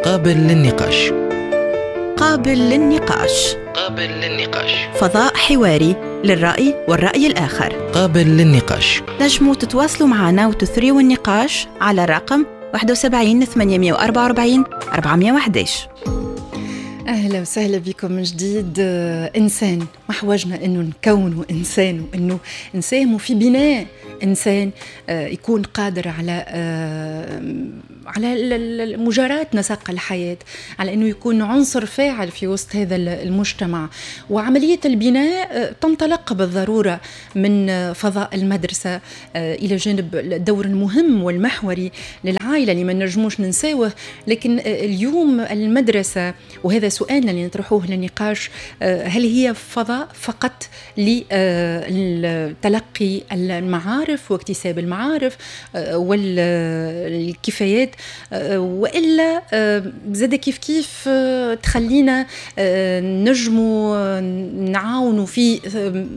قابل للنقاش. قابل للنقاش. قابل للنقاش. فضاء حواري للرأي والرأي الآخر. قابل للنقاش. تنجموا تتواصلوا معنا وتثريوا النقاش على الرقم 71 844 411. أهلا وسهلا بكم من جديد. إنسان ما حوجنا أنه نكونوا إنسان وأنه نساهموا في بناء إنسان يكون قادر على مجاراة نسق الحياة، على أنه يكون عنصر فاعل في وسط هذا المجتمع. وعملية البناء تنطلق بالضرورة من فضاء المدرسة، إلى جانب الدور المهم والمحوري للعائلة اللي ما نجموش ننساوه. لكن اليوم المدرسة، وهذا سؤالنا اللي نطرحوه للنقاش، هل هي فضاء فقط لتلقي المعارف واكتساب المعارف والكفايات، والا زاد كيف كيف تخلينا نجموا نعاونوا في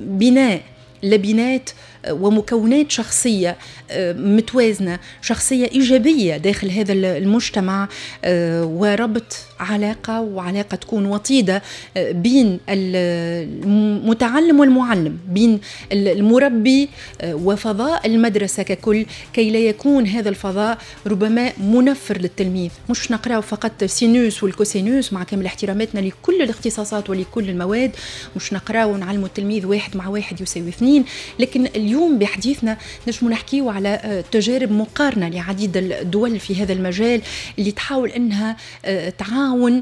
بناء لبنات ومكونات شخصية متوازنة، شخصية إيجابية داخل هذا المجتمع، وربط علاقة، وعلاقة تكون وطيدة بين المتعلم والمعلم، بين المربي وفضاء المدرسة ككل، كي لا يكون هذا الفضاء ربما منفر للتلميذ. مش نقرأ فقط sinus وال cosinus، مع كامل احتراماتنا لكل الاختصاصات ولكل المواد، مش نقرأ ونعلم التلميذ 1 مع 1 يساوي 2. لكن اليوم بحديثنا نجم نحكيو على تجارب مقارنة لعديد الدول في هذا المجال اللي تحاول أنها تعاون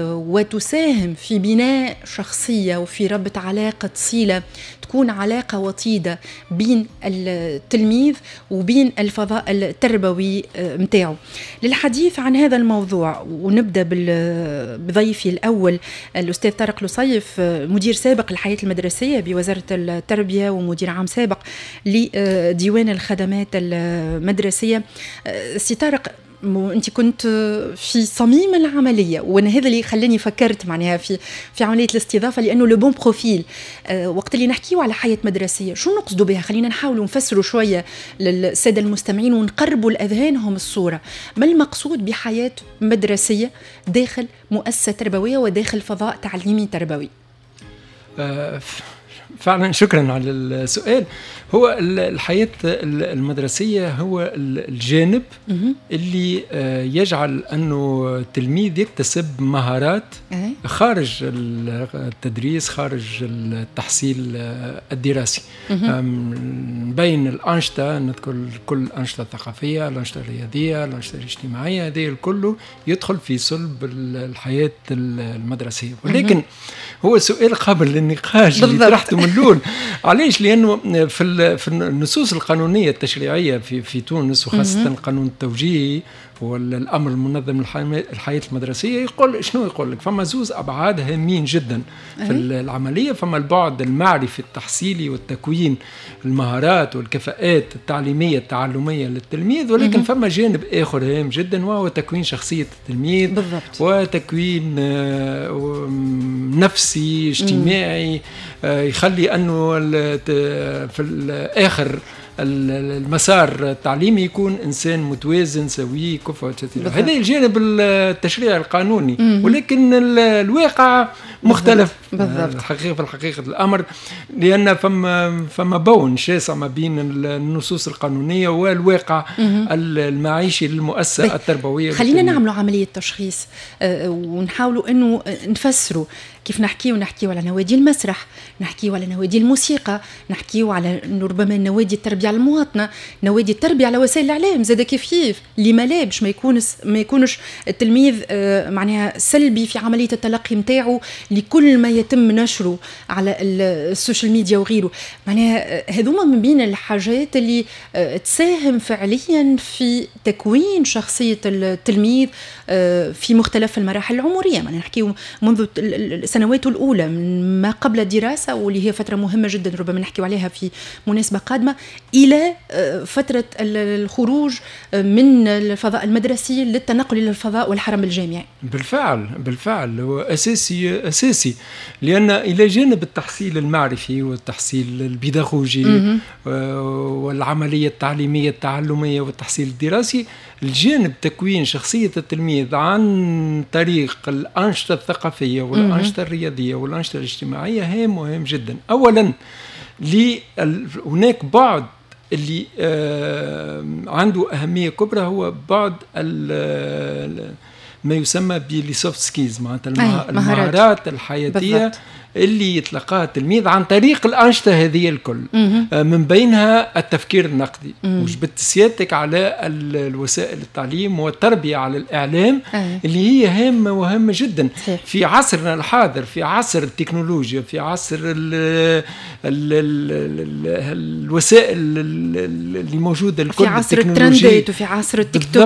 وتساهم في بناء شخصية وفي ربط علاقة صلة تكون علاقة وطيدة بين التلميذ وبين الفضاء التربوي متاعه. للحديث عن هذا الموضوع ونبدأ بضيفي الأول الأستاذ طارق لصيف، مدير سابق للحياة المدرسية بوزارة التربية ومدير عام سابق لديوان الخدمات المدرسية. سي طارق، انت كنت في صميم العملية، وانا هذا اللي خلاني فكرت معناها في عملية الاستضافة، لانه le bon profil. وقت اللي نحكيو على حياة مدرسيه شو نقصدوا بها؟ خلينا نحاولوا نفسروا شوية للسادة المستمعين ونقربوا لاذهانهم الصورة. ما المقصود بحياة مدرسيه داخل مؤسسة تربوية وداخل فضاء تعليمي تربوي؟ فعلا شكرا على السؤال. هو الحياة المدرسية هو الجانب اللي يجعل أنه التلميذ يكتسب مهارات خارج التدريس، خارج التحصيل الدراسي. بين الأنشطة نذكر كل الأنشطة الثقافية، الأنشطة الرياضية، الأنشطة الاجتماعية، هذه الكل يدخل في صلب الحياة المدرسية. ولكن هو سؤال قابل للنقاش اللي طرحته من الأول. علاش؟ لأنه في النصوص القانونية التشريعية في تونس، وخاصة القانون التوجيهي والأمر المنظم الحياة المدرسية، يقول شنو؟ يقول لك فما زوز أبعاد هامين جدا في العملية. فما البعد المعرفي التحصيلي والتكوين المهارات والكفاءات التعليمية التعلمية للتلميذ، ولكن فما جانب آخر هام جدا وهو تكوين شخصية التلميذ. بالضبط. وتكوين نفسي اجتماعي يخلي أنه في الآخر المسار التعليمي يكون إنسان متوازن سوي كفء. هذا الجانب التشريعي القانوني، ولكن الواقع مختلف. بالضبط. الحقيقة في الحقيقة الأمر، لأن فما بون شاسع ما بين النصوص القانونية والواقع المعيشي للمؤسسة التربوية. خلينا نعملوا عملية تشخيص ونحاولوا أنه نفسروا كيف نحكيو على نوادي المسرح، نحكيو على نوادي الموسيقى، نحكيو على ربما نوادي التربية على المواطنة، نوادي التربية على وسائل الإعلام زاد كيف كيف، لما لا باش ما يكونش التلميذ معناها سلبي في عملية التلقي نتاعو لكل ما يتم نشره على السوشيال ميديا وغيره. معناها هذوما من بين الحاجات اللي تساهم فعليا في تكوين شخصية التلميذ في مختلف المراحل العمرية. معناها نحكيو منذ السنوات الأولى من ما قبل الدراسة، واللي هي فترة مهمة جدا ربما نحكي عليها في مناسبة قادمة، الى فترة الخروج من الفضاء المدرسي للتنقل الى الفضاء والحرم الجامعي. بالفعل بالفعل، هو اساسي اساسي، لان الى جانب التحصيل المعرفي والتحصيل البيداغوجي والعملية التعليمية التعلميه والتحصيل الدراسي، الجانب تكوين شخصية التلميذ عن طريق الانشطة الثقافية والانشطه الرياضية والانشطه الاجتماعية هام مهم جدا. اولا هناك بعد اللي عنده أهمية كبرى، هو بعد ما يسمى ب les soft skills، معناتها المهارات الحياتية اللي يتلقاها التلميذ عن طريق الأنشطة هذه الكل، من بينها التفكير النقدي. وجبدت سيادتك على الوسائل التعليم والتربية على الإعلام اللي هي هامة وهامة جدا في عصرنا الحاضر، في عصر التكنولوجيا، في عصر ال ال ال ال الوسائل اللي موجودة الكل. في عصر الترندات وفي عصر التيك توك.